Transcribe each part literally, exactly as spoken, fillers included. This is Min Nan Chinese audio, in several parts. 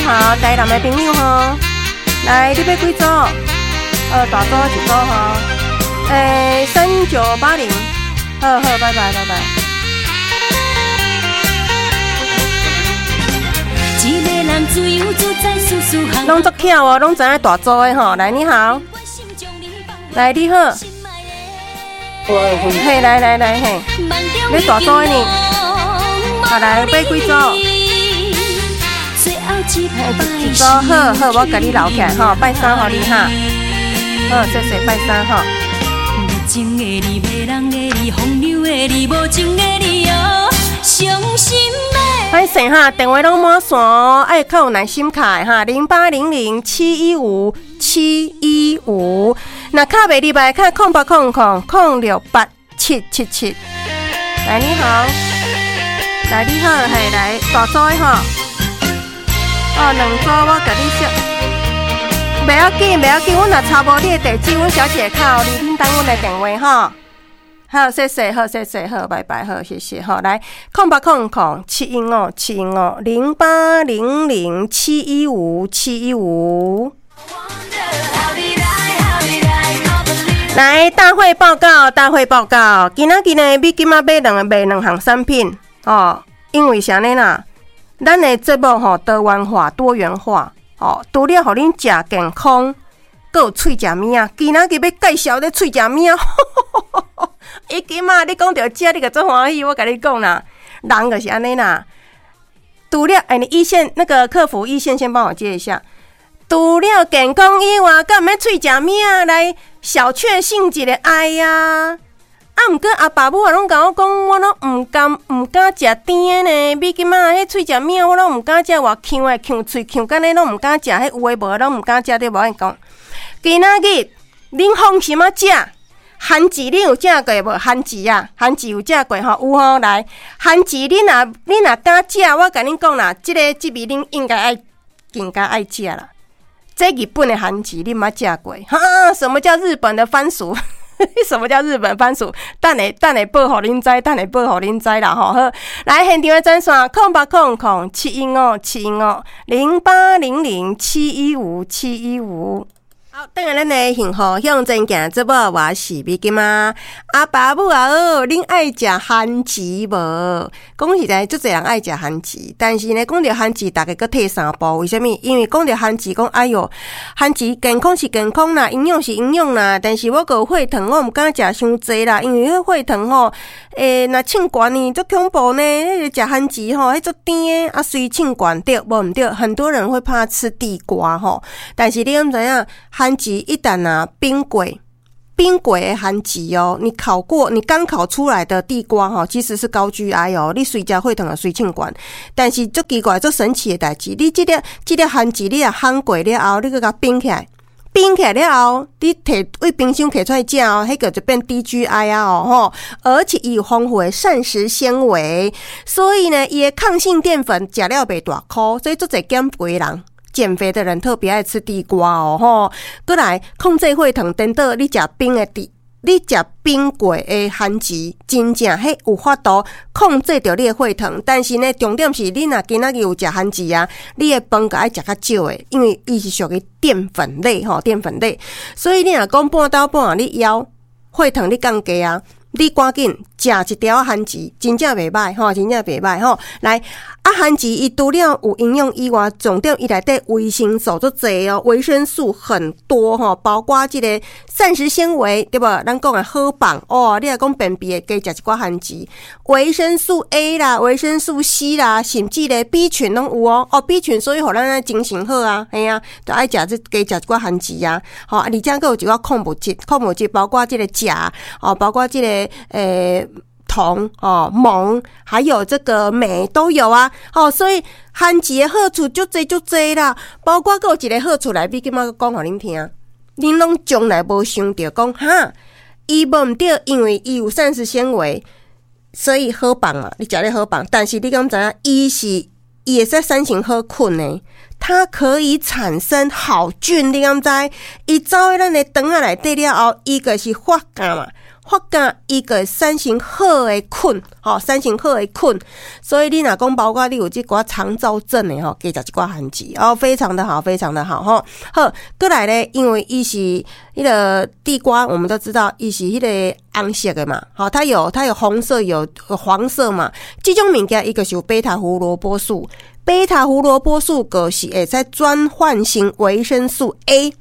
好，台南的朋友吼，來，你欲幾組？呃，大組一組吼，欸，三九八零，好好，拜拜拜拜。一个人自由自在，事事项。攏足巧哦，攏知影大組的吼。來，你好，來，你好，嘿，來來來，嘿，你大組的呢？啊，來，欲幾組？一組，好好，我共你留起來吼，拜三予你哈。好，謝謝，拜三吼。情的你，迷人的你，風流的你，無情的你哦，傷心的。歹勢哈，電話攏滿線哦，愛較有耐心敲的哈，零八零零七一五七一五，若敲袂入來，敲空八空空空六八七七七。來，你好，來，你好，嘿，來，大組的吼，哦，兩組我共你說，袂要緊，袂要緊，阮若查無你的地址，阮小姐會敲予你，恁等阮的電話吼。好，謝謝，好，謝謝，好，拜拜，好，謝謝，好，來，空八空空七一五七一五零八零零七一五七一五。來，大會報告，大會報告，今仔日呢，美金仔買兩個賣兩項產品哦，因為啥呢啦？咱的節目吼多元化、多元化哦，除了予恁食健康，閣有喙食物仔。今仔日欲介紹咧喙食物仔。伊今仔你講著食，你就足歡喜。我共你講啦，人就是按呢啦。除了欸，你一線那個客服一線先幫我接一下。除了健康以外，閣毋免喙食物仔來小確幸一个愛啊。啊，毋過阿爸母也攏共我講，我攏毋甘毋敢食甜的呢。美金仔彼喙食物仔，我攏毋敢食，偌嗆的嗆喙嗆干呢，攏毋敢食。彼有的無的攏毋敢食，對無？我講，今仔日恁放心仔食。番薯你有食過無？番薯啊，番薯有食過吼？有吼，來，番薯你若你若敢食，我共恁講啦，這个這味恁應該愛更加愛食啦。這日本的番薯你毋捌食過？哈？什麼叫日本的番薯？什麼叫日本番薯？等下等下報予恁知，等下報予恁知啦吼。好，來現場的專線：空八空空七一五七一五零八零零七一五七一五。好，轉來咱的幸福向前行節目，我是美金仔。阿爸母啊好，恁愛食番薯無？講實在，足濟人愛食番薯，但是呢，講著番薯，逐家閣退三步。為啥物？因為講著番薯，講哎喲，番薯健康是健康啦，營養是營養啦，但是我閣有血糖，我毋敢食傷濟啦，因為彼血糖吼，欸，若稱懸呢，足恐怖呢。彼个食番薯吼，彼足甜的，啊，隨稱懸對，無毋對？很多人會怕吃地瓜吼，但是你敢知影？番薯一旦啊冰過，冰過的番薯哦，你烤過，你剛烤出來的地瓜吼，其實是高 G I 哦，你隨食血糖會隨稱懸。但是足奇怪、足神奇的代誌，你這粒這粒番薯你若烘過了後，你閣共冰起來，冰起來了後，你提佇冰箱提出來食哦，彼個就變低 G I 啊哦吼，而且伊有豐富的膳食纖維，所以呢，伊的抗性澱粉食了袂大箍，所以足濟減肥人。減肥的人特別愛吃地瓜哦，吼！閣來控制血糖，顛倒你食冰的地，你食冰過的番薯，真正彼有法度控制著你的血糖。但是呢，重點是你若今仔日有食番薯啊，你的飯閣愛食較少的，因為伊是屬於澱粉類吼，澱粉類。所以你若講半晝半暗你枵血糖你降低啊，你趕緊食一條番薯，真正袂䆀吼，真正袂䆀吼。來，啊，番薯伊除了有營養以外，重點伊內底維生素足濟哦，維生素很多吼，包括這個膳食纖維對無？咱講的好棒哦，你若講便秘的，加食一寡番薯，維生素 A 啦，維生素 C 啦，甚至咧 B 群攏有哦。哦，B 群所以予咱精神好啊，嘿啊，就愛食這加食一寡番薯啊。吼，而且閣有一寡礦物質，礦物質包括這個鉀哦，包括這個欸銅哦、錳，還有這個鎂都有啊。哦，所以番薯的好處足濟足濟啦，包括閣有一個好處來，美金仔講予恁聽，恁攏從來無想著講哈，伊無毋對，因為伊有膳食纖維，所以好放嘛，你食咧好放。但是你敢知影，伊是伊會使產生好菌呢？它可以產生好菌，你敢知？伊走佇咱的腸仔內底了後，伊就是發酵嘛。發覺伊會產生好的菌，吼，產生好的菌。所以你若講包括你有這寡腸躁症的吼，加食一寡番薯哦，非常的好，非常的好吼。好，閣來咧，因為伊是彼个地瓜，我們都知道伊是彼个紅色的嘛，吼，它有它有紅色有黃色嘛，這種物件伊就是有貝塔胡蘿蔔素，貝塔胡蘿蔔素就是會使轉換成維生素 A。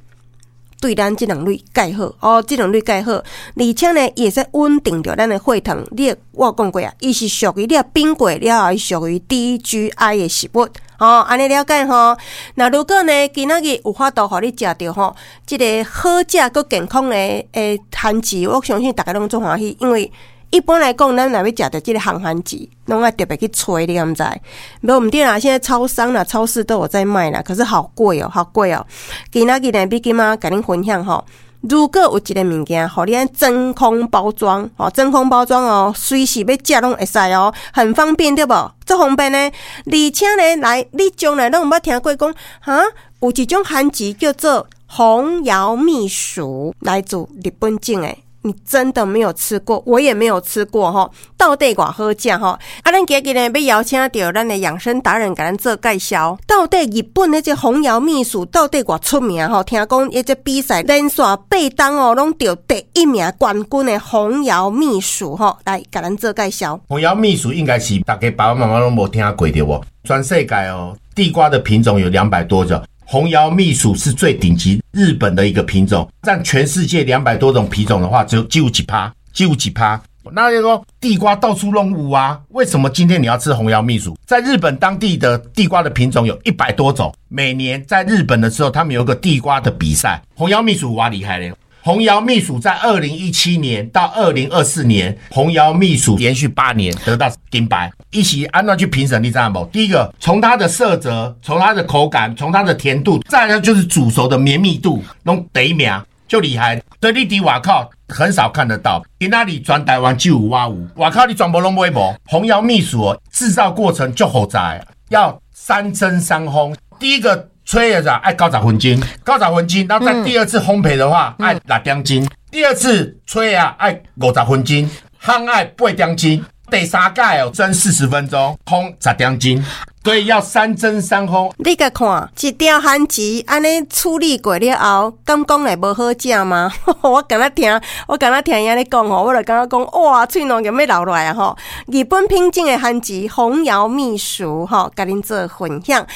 對咱這兩類蓋好哦，這兩類蓋好，而且呢，伊會使穩定著咱的血糖。你我有講過啊，伊是屬於你冰過了後，伊屬於低 G I 的食物哦，按呢了解吼。那如果呢，今仔日有法度予你食著吼，這個好食閣健康的的番薯，我相信大家攏足歡喜，因為一般來講，咱若欲食著這個烘番薯，攏愛特別去揣，你敢知？無毋對啦，現在超商啦、超市都有在賣啦，可是好貴哦，好貴哦。今仔日呢，美金仔共恁分享吼，如果有一個物件，予你按真空包裝，吼，真空包裝哦，隨時欲食攏會使哦，很方便對無？足方便呢，而且呢，來你從來攏毋捌聽過講，哈，有一種番薯叫做紅瑤蜜薯，來自日本種的。你真的沒有吃過，我也沒有吃過吼。到底偌好食吼？啊，咱今日呢欲邀請著咱的養生達人共咱做介紹。到底日本彼這紅瑤蜜薯到底偌出名吼？聽講彼這比賽連續八冬哦，攏著第一名冠軍的紅瑤蜜薯吼，來共咱做介紹。紅瑤蜜薯應該是大家爸爸媽媽攏無聽過對無？全世界哦，地瓜的品種有兩百多種。紅瑤蜜薯是最頂級日本的一個品種，佔全世界兩百多種品種的話，只有只有幾趴，只有幾趴。那就說地瓜到處攏有啊，為什麼今天你要吃紅瑤蜜薯？在日本當地的地瓜的品種有一百多種，每年在日本的時候，他們有一個地瓜的比賽，紅瑤蜜薯哇厲害咧！紅瑤蜜薯在二零一七年到二零二四年，紅瑤蜜薯連續八年得到金牌。伊是按怎去評審，你知無？第一個，從它的色澤，從它的口感，從它的甜度，再來就是煮熟的綿密度，攏第一名就厲害。所以你佇外口很少看得到，今仔日全台灣只有我有，外口你全部攏買無。紅瑤蜜薯哦，製造過程足複雜，要三蒸三烘。第一個吹的時候愛九十分鐘，九十分鐘，然後再第二次烘焙的話愛六點鐘，第二次吹啊愛五十分鐘，烘愛八點鐘，第三擺哦蒸四十分鐘，烘十點鐘，所以要三蒸三烘。你共看，一條番薯按呢處理過了後，敢講會無好食嗎？我敢若聽，我敢若聽伊按呢講吼，我就感覺講哇，喙滷欲流落來啊吼！日本品種的番薯紅瑤蜜薯吼，共恁做分享。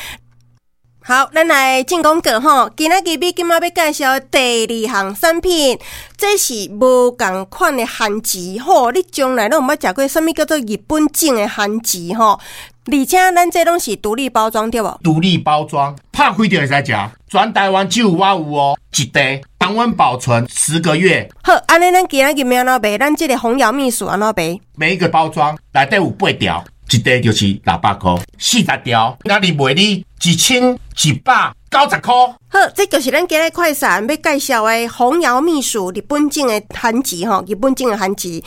好，咱來進廣告吼。今仔日美金仔欲介紹第二項產品，這是無仝款的番薯吼。你從來攏毋捌食過啥物叫做日本種的番薯吼？而且咱這攏是獨立包裝對無？獨立包裝，拍開就會使食。全台灣只有我有哦，一袋常溫保存十個月。好，按呢咱今仔日欲按怎賣？咱這個紅瑤蜜薯按怎賣？每一個包裝內底有八條，一袋就是六百箍，四十條，那你賣你一千一百九十箍。好，這就是咱今日快閃欲介紹的紅瑤蜜薯，日本種的番薯吼，日本種的番薯。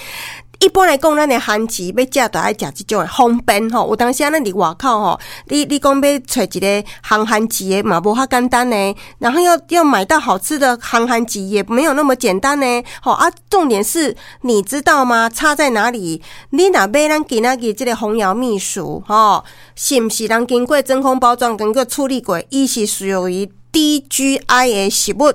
一般來講，咱的番薯欲食，就愛食這種的方便吼。有當時啊，咱佇外口吼，你你講欲揣一個烘番薯的嘛，無遐簡單呢。然後要要買到好吃的烘番薯，也沒有那麼簡單呢。吼啊，重點是，你知道嗎？差在哪裡？你若買咱今仔日這個紅瑤蜜薯吼，是毋是人經過真空包裝，經過處理過，伊是屬於低 G I 的食物。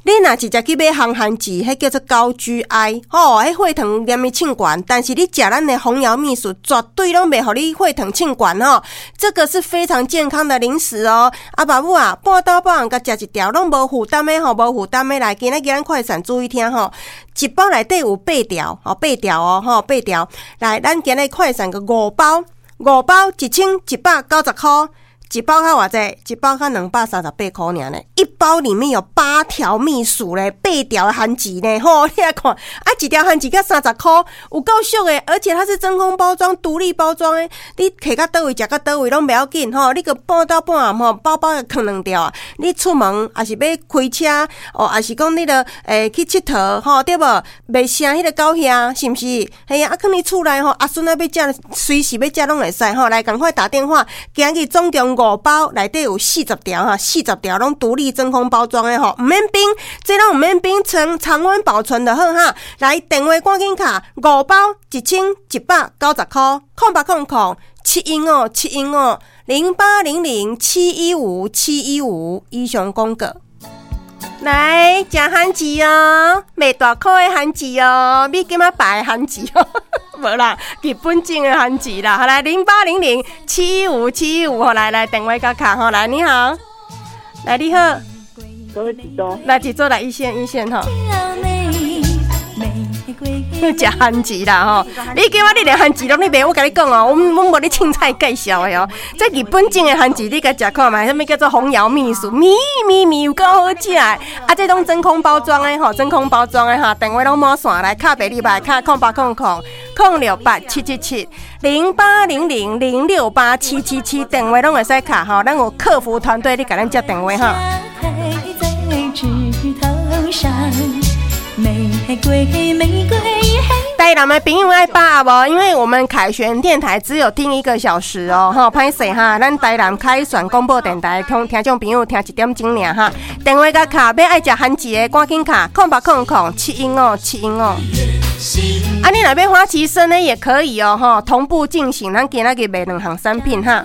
你若直接去買烘番薯，彼叫做高 G I，吼，彼血糖連伊衝懸。但是你食咱的紅瑤蜜薯，絕對攏袂予你血糖衝懸吼。這個是非常健康的零食哦。啊，爸母啊，半晝半暗共食一條，攏無負擔的吼，無負擔的來。今仔日咱快閃注意聽吼，一包內底有八條，吼，八條哦，吼，八條。來，咱今日快閃個五包，五包一千一百九十箍。一包較偌濟？一包較兩百三十八箍爾呢。一包裡面有八條蜜薯咧，八條番薯呢。吼，你來看，啊，一條番薯才三十箍，有夠俗的，而且它是真空包裝、獨立包裝的。你提到佗位，食到佗位攏袂要緊吼。你閣半晝半暗吼，包包囥兩條啊。你出門抑是欲開車哦，抑是講你著會去𨑨迌吼，對無？袂聲彼个狗耳，是毋是？嘿啊，啊，囥佇厝內吼，阿孫仔欲食，隨時欲食攏會使吼。來，趕快打電話，今日總共五包內底有四十條哈，四十條攏獨立真空包裝的吼，毋免冰，這攏毋免冰，常常溫保存就好哈。來，電話趕緊敲，五包一千一百九十箍，空八空空七一五七一五零八零零七一五七一五，以上廣告。來，食番薯哦，賣大箍的番薯哦，美金仔白的番薯哦，無啦，日本種的番薯啦。好來，零八零零七一五七一五，來來電話佮敲吼，來你好，來你好，來一組來一線一線吼。食番薯啦吼！你叫我你連番薯攏咧賣，我共你講哦，阮阮無咧凊彩介紹的哦。這日本種的番薯，你共食看覓？啥物叫做紅瑤蜜薯？蜜蜜蜜有夠好食的。啊，這攏真空包裝的吼，真空包裝的哈，電話攏滿線來，敲袂入來，敲空八空空空六八七七七零八零零零六八七七七，電話攏會使敲吼，咱有客服團隊咧共咱接電話哈。枝頭上玫瑰玫瑰。台南的朋友愛把握無？因為我們凱旋電台只有聽一個小時哦，吼，歹勢哈，咱台南凱旋廣播電台聽聽眾朋友聽一點鐘爾哈。電話共敲，欲愛食番薯的，趕緊敲，空八空空七一五七一五。啊，你若欲花旗參呢，也可以哦，吼，同步進行，咱今仔日賣兩項產品哈。